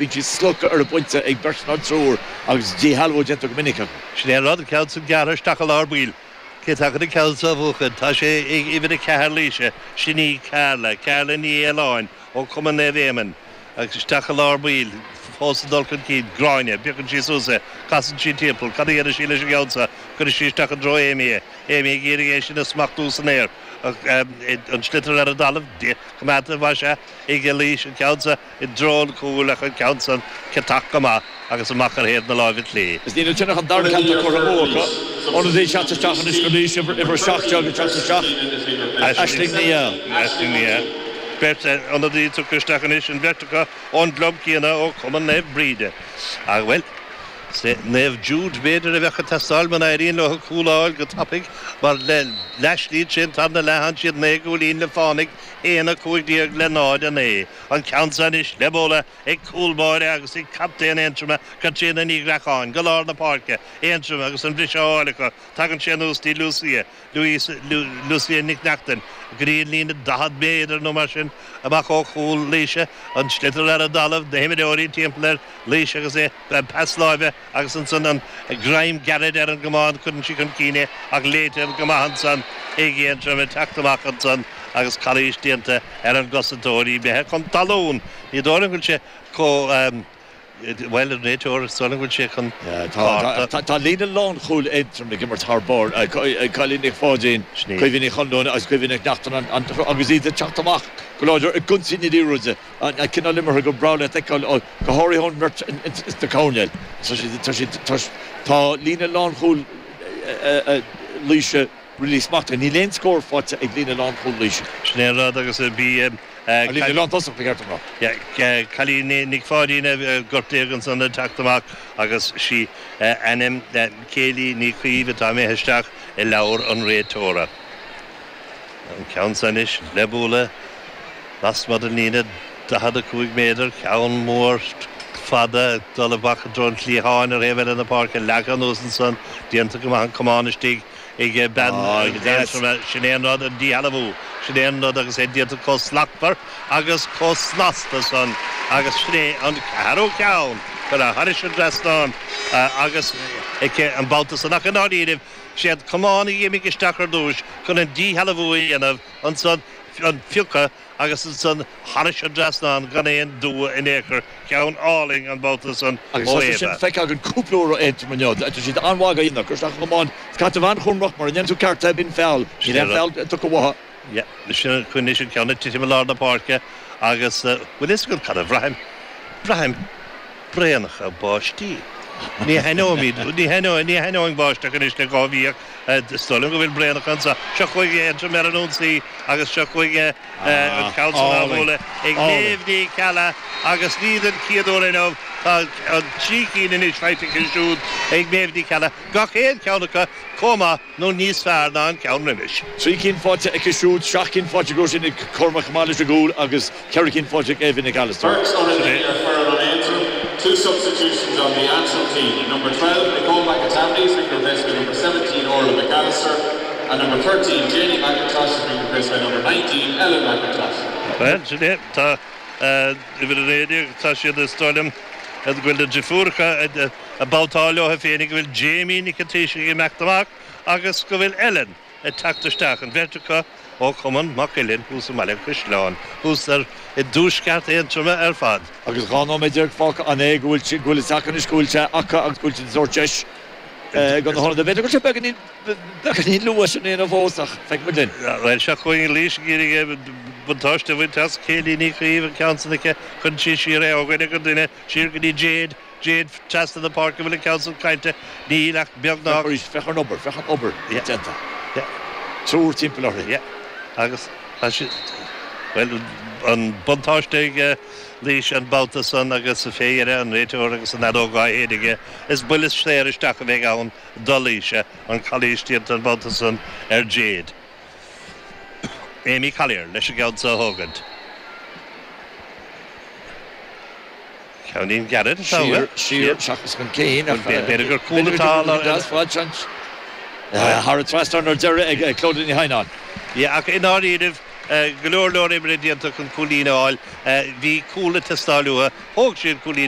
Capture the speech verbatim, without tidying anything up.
Bíonn siad slogtha ar an bpointe ag beirt nó triúr agus díshealbhú déanta go minic acu. Sin é an rud, an ceann san gearrtha isteach i lár baill. Cé atá chun an ceann seo a bhuachan? Tá sé ag uimhir a ceathair Laoise, sin í Carla, Carla Ní Fhaoláin ó Chumann Naomh Éamonn. Agus isteach i lár baill, fós ag dul chun cinn, Gráinne, piocann sí suas é, casann sí timpeall, cad a dhéanfaidh sí leis an gceann seo? Cuirfidh sí isteach i dtreo Amy é, Amy ag iarraidh é sin a smachtú san aer, ach an sliotar ar an dtalamh, coimeádta más ea, ag Laois, an ceann seo i dtreo an chúil ach an ceann san ciotach go maith agus amach ar thaobh na láimhe clé. Is níl ansin ach an dara ceann atá curtha amú acu. Ionadaí ag teacht isteach anois go Laois, uimhir seacht déag ag teacht isteach, Aisling Ní Fheá. Aisling Ní Fheá. Beirt ionadaí tugtha isteach anois, an bheirt acu ón gclub céanna, ó Chumann Naomh Bríde. Ach, bhuel, Naomh Jude b'fhéidir a bheadh ag teastáil muna n-éiríonn leo cúl a fháil go tapaidh mar le leathshlí tríd an tarna leath tánn siad naoi gcúilín le fánaidh, aon a cúig déag le náid a naoi. An ceann seo anois le bualadh ag cúl báire agus ag captaen Aontroma, Caitríona Ní Ghreacháin, go lár na páirce, Aontroim agus an briseadh á fháil acu. Tagann sé anuas dtí Lucia, Lucia Nic Neachtain, go dtí an líne daichead méadar nó mar sin amach ó chúl Laoise, an sliotar ar an dtalamh, na himreoirí timpeall ar Laois agus é, pas láimhe agus ansan an greim gairid ar an gcamán, cuireann sí chun cinn é ach léite go maith ansan ag Aontroim ag teacht amach ansan agus calaois déanta ar an gcosantóir, í imithe chun talún. Ní dóigh liom go bhfuil sé chomh. Bhuel, an réiteoir, is dóigh liom go bhfuil sé chun cárta. Tá líne lánchúil Aontroim ag imirt thar barr, Cailín Nic Pháidín, Caoimhe Ní Chonluain agus Caoimhe Nic Neachtain agus iad ag teacht amach go láidir i gconsaí na liathróide, an cineál imeartha gur breá leat a fheiceáil, go háirithe ón mbeirt sna coirnéil. Tá líne lánchúil Laoise really smachtaithe. Níl aon scór faighte ag líne lánchúil Laoise. Sin é an rud agus bhí An líne lántosach, ba cheart dom rá. Cailín Nic Pháidín gortaithe ansan ag teacht amach agus sí ainm Kayleigh Ní Chaoimh atá imithe isteach i leabhar an réiteora. An ceann seo anois le bualadh lasmuigh den líne daichead a cúig méadar, ceann mór fada ag dul amach i dtreo an chliatháin ar thaobh eile na páirce, leagtha anuas ansan, déanta go maith an camán istigh. ag bean Aontroma, sin é an rud, an díshealbhú, sin é an rud agus é déanta chomh slachtmhar agus chomh snasta san agus sin é an ceathrú ceann curtha thairis an dtrasnán agus aici an babhta san ach i ndáiríribh sé an camán a d'imigh isteach ar dtúis chun an díshealbhú a dhéanamh ansan an piocadh agus ansan thairis an dtrasnán gan aon dua in aon chor. Ceann álainn an babhta san Agus ó tá sé sin Éabha. feicthe againn cúpla uair ó Aontroim inniu. Tá siad an-mhaith á dhéanamh. Cur isteach an camán is caite an-chúramach mura ndéanann tú ceart é, bíonn feall. Níl aon feall tugtha uathu. Yeah, sin an coinne sin ceann ag titim i lár na páirce agus bhfuil fhios agat cad a bhraithim? Braithim braonacha báistí. Ní thaitneoimid, ní thaitneoidh, ní thaitneoidh báisteach anois le dhá mhí ach is dóigh liom go bhfuil braonacha anseo. Seo chugainn Aontroim ar an ionsaí agus seo chugainn an ceann san á bhualadh ag Méabh Ní Cheallaigh agus ní den chéad uair inniu, tá an trí cinn anois faighte aici siúd ag Méabh Ní Cheallaigh, gach aon cheann acu chomh maith nó níos fearr ná an ceann roimis. Trí cinn faighte aici siúd, seacht gcinn faighte ag Róisín Nic Cormaic chomh maith leis an gcúl agus ceithre cinn faighte ag Eva Nic Allister. Beirt ionadaí ar foireann an Aontroim, Two substitutions on the Antrim team. Number twelve, Nicole McAtamney has been replaced by number seventeen, Orla McAllister, and number thirteen, Janie McIntosh has been replaced by number nineteen, Ellen McIntosh. Bhuel, sin é. Tá uimhir a naoi déag, tá siad, is dóigh liom, go bhfuil na deirfiúracha ag babhtáil leo féinig, go bhfuil Jamie Nic an Taoisigh ag imeacht amach agus go bhfuil Ellen ag teacht isteach, an bheirt acu ó Chumann Maigh Cuilinn thuas i mBaile an Chaisleáin, thuas ar i dtuaisceart Aontroma ar fad. Agus dhá nóiméad déag fágtha, an é go bhfuil go bhfuil fhios acu anois go bhfuil sé acu agus go bhfuil siad ag tabhairt deis do na hionadaithe? B'fhéidir go bhfuil sé beagáinín beagáinín luath sin a dhéanamh fós ach feicfidh muid linn. Bhuel, seo chugainn Laois ag iarraidh buntáiste a bhaint as Kayleigh Ní Chaoimh, an ceann san aici, cuireann sí siar é ó dhuine go duine, siar go dtí Jade. Jade trasna na páirce, an bhfuil an ceann san caillte? Níl ach beagnach. Féach arís, féach ar an obair, féach an obair Yeah. déanta. Yeah. Triúr timpeall uirthi. Yeah. Agus tá sí, bhuel, an buntáiste ag Laois an babhta san agus fé dheireadh an réiteoir agus an fheadóg á shéideadh aige, is buille saor isteach a bheidh ann do Laois, an calaois déanta an babhta san ar Jade. Amy Collier leis an gceann so a thógaint. Ceainnín gairid atá Siar, uaidh. siar, seachas chun cinn ach B'fhéidir gur cúl b'fhéidir atá go dtiocfaidh deas fad seans. Thar an trasnán ar deireadh ag Clodagh Ní Theimhneáin. Yeah, ach i ndáiríribh, go leor leor oibre déanta chun cúilín a fháil. Bhí cúl ag teastáil uathu. Thóg siad cúilín.